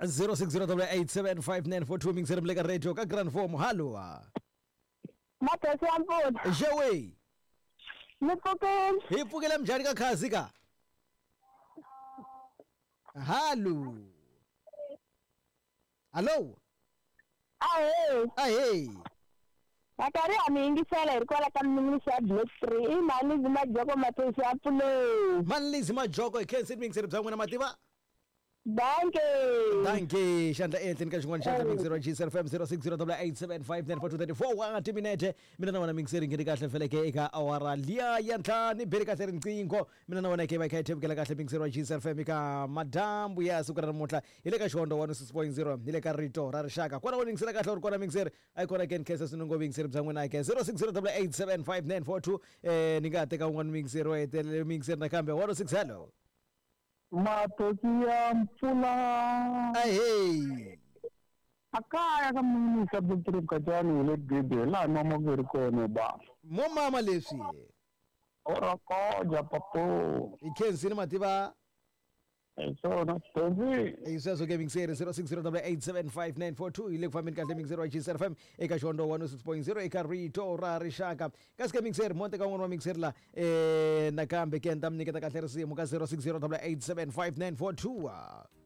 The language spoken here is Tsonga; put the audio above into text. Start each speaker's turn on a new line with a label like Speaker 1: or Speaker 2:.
Speaker 1: 0608875942 mingiseri mi le ka radio ka Grand Form. Hallo.
Speaker 2: Madosi ya mpfula.
Speaker 1: Xewe.
Speaker 2: Mi pfukile.
Speaker 1: Hi pfukile mjhani ka khazi ka? Hallo. Hallo.
Speaker 2: Ahee.
Speaker 1: Ahee.
Speaker 2: Na karhi ha mi yingisela hi ri kwala ka Mninginisi ya Black 3. I Mhani Majoko Matosi ya Puleni.
Speaker 1: Mhani Majoko hi khensini muyingiseri bya n'wina mativa.
Speaker 2: Danke.
Speaker 1: Danke. Xandla ehenhleni ka xin'wana xandla muyingiseri wa GCR FM 060887594234 wa timinete. Mina na wena muyingiseri ngheni kahle feleke eka awara liya ya ntlhanu beri kahle riqingho. Mina na wena ke va kha hi thevukela kahle muyingiseri wa GCR FM eka madyambu ya siku ra namuntlha hi le ka Xihondzo 106.0 hi le ka Rito ra Rixaka. Kwala u yingisela kahle u ri kona muyingiseri a yi kona ke ni khensa swinene ngopfu vuyingiseri bya n'wina ke 0608875942 ni nga ha teka un'wana muyingiseri wa hetelele muyingiseri nakambe 106 hello.
Speaker 3: Matosi ya mpfula.
Speaker 1: Ahee.
Speaker 3: A kaya ka minista Victory Mkhacani hi le Gede laha mama ku ri kona ba.
Speaker 1: Mo mama leswi.
Speaker 3: Ora koja papo.
Speaker 1: Hi khensini mativa.
Speaker 3: Hi swona Tosi.
Speaker 1: Hi sweswo ke mingiseri 0608875942 hi le ku fambeni kahle mingiseri wa GCR FM eka Xihondzo 106.0 eka Rito ra Rixaka. Kasi ke mingiseri mo teka un'wana wa mingiseri la nakambe ke ni ta mi nyiketa kahle risimu ka 0608875942.